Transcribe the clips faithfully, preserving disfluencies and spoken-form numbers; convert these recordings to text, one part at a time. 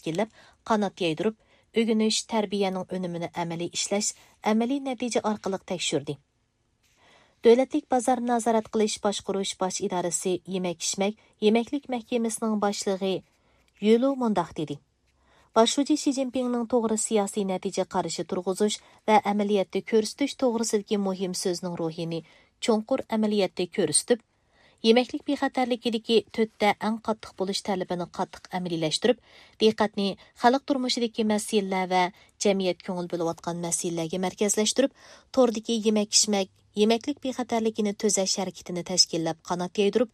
تەشكىللەپ، قانات يايدۇرۇپ، ئۆگىنىش، تەربىيەنىڭ ئۈنۈمىنى ئەمەلىي ئىشلەش، ئەمەلىي نەتىجە ئارقىلىق تەكشۈردى. دۆلەتلىك بازار نازارەت قىلىش باشقۇرۇش باش ئىدارىسى يېمەك-ئىچمەك، يېمەكلىك مەھكىمىسىنىڭ باشلىقى يۈلۇ مۇنداق دېدى: باش شۇجى شى جىنپىڭنىڭ توغرا سىياسىي نەتىجە قارىشى تۇرغۇزۇش ۋە ئەمەلىيەتتە كۆرسىتىش توغرىسىدىكى مۇھىم سۆزنىڭ روھىنى چوڭقۇر ئەمەلىيەتتە كۆرسىتىپ، يېمەكلىك بىخەتەرلىكىدىكى تۆتتە ئەڭ قاتتىق بولۇش تەلىپىنى قاتتىق ئەمەلىيلەشتۈرۈپ، دىققەتنى خەلق تۇرمۇشىدىكى مەسىلىلەر ۋە جەمئىيەت كۆڭۈل بۆلۈۋاتقان مەسىلىلەرگە مەركەزلەشتۈرۈپ، توردىكى يېمەك-ئىچمەك، يېمەكلىك بىخەتەرلىكىنى تۈزەش ھەرىكىتىنى تەشكىللەپ قانات يايدۇرۇپ،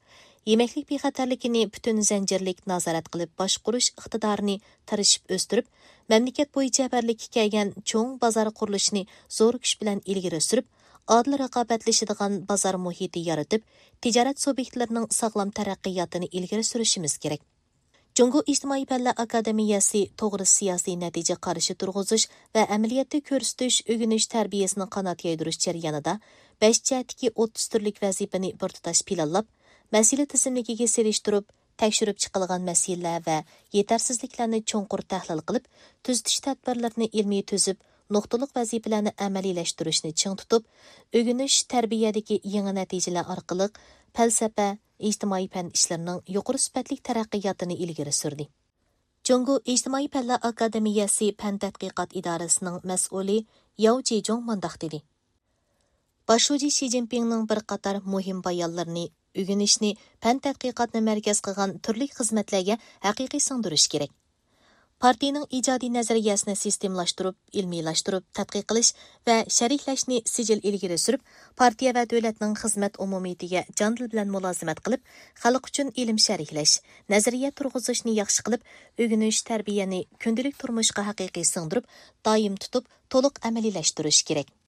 يېمەكلىك بىخەتەرلىكىنى پۈتۈن زەنجىرلىك نازارەت قىلىپ باشقۇرۇش ئىقتىدارىنى تىرىشىپ ئۆستۈرۈپ، مەملىكەت بويىچە بىرلىككە كەلگەن چوڭ بازار قۇرۇلۇشىنى زور كۈچ بىلەن ئىلگىرى سۈرۈپ، ئادىل رىقابەتلىشىدىغان بازار مۇھىتى يارىتىپ، تىجارەت سۇبيېكتلىرىنىڭ ساغلام تەرەققىياتىنى ئىلگىرى سۈرۈشىمىز كېرەك. جۇڭگو ئىجتىمائىي پەنلەر ئاكادېمىيەسى توغرا سىياسىي نەتىجە قارىشى تۇرغۇزۇش ۋە ئەمەلىيەتتە كۆرسىتىش، ئۆگىنىش تەربىيەسىنى قانات يايدۇرۇش جەريانىدا بەش جەھەتتىكى ئوتتۇز تۈرلۈك ۋەزىپىنى بىر تۇتاش پىلانلاپ، مەسىلە تىزىملىكىگە سېلىشتۇرۇپ، تەكشۈرۈپ چىقىلغان مەسىلىلەر ۋە يېتەرسىزلىكلەرنى چوڭقۇر تەھلىل قىلىپ، تۈزىتىش تەدبىرلىرىنى ئىلمىي تۈزۈپ، نۇقتىلىق ۋەزىپىلەرنى ئەمەلىيلەشتۈرۈشنى چىڭ تۇتۇپ، ئۆگىنىش، تەربىيەدىكى يېڭى نەتىجىلەر ئارقىلىق پەلسەپە، ئىجتىمائىي پەن ئىشلىرىنىڭ يۇقىرى سۈپەتلىك تەرەققىياتىنى ئىلگىرى سۈردى. جۇڭگو ئىجتىمائىي پەنلەر ئاكادېمىيەسى پەن تەتقىقات ئىدارىسىنىڭ مەسئۇلى ياۋ جىجۇڭ مۇنداق دېدى: باش شۇجى شى جىنپىڭنىڭ بىر قاتار مۇھىم بايانلىرىنى، ئۆگىنىشنى، پەن تەتقىقاتنى مەركەز قىلغان تۈرلۈك خىزمەتلەرگە ھەقىقىي سىڭدۈرۈش كېرەك. پارتىيىنىڭ ئىجادىي نەزەرىيەسىنى سىستېمىلاشتۇرۇپ، ئىلمىيلاشتۇرۇپ، تەتقىق قىلىش ۋە شەرھلەشنى سىجىل ئىلگىرى سۈرۈپ، پارتىيە ۋە دۆلەتنىڭ خىزمەت ئومۇمىيىتىگە جان دىل بىلەن مۇلازىمەت قىلىپ، خەلق ئۈچۈن ئىلىم شەرھلەش، نەزەرىيە تۇرغۇزۇشنى ياخشى قىلىپ، ئۆگىنىش، تەربىيەنى كۈندىلىك تۇرمۇشقا ھەقىقىي سىڭدۈرۈپ، دائىم تۇتۇپ، تولۇق ئەمەلىيلەشتۈرۈش كېرەك.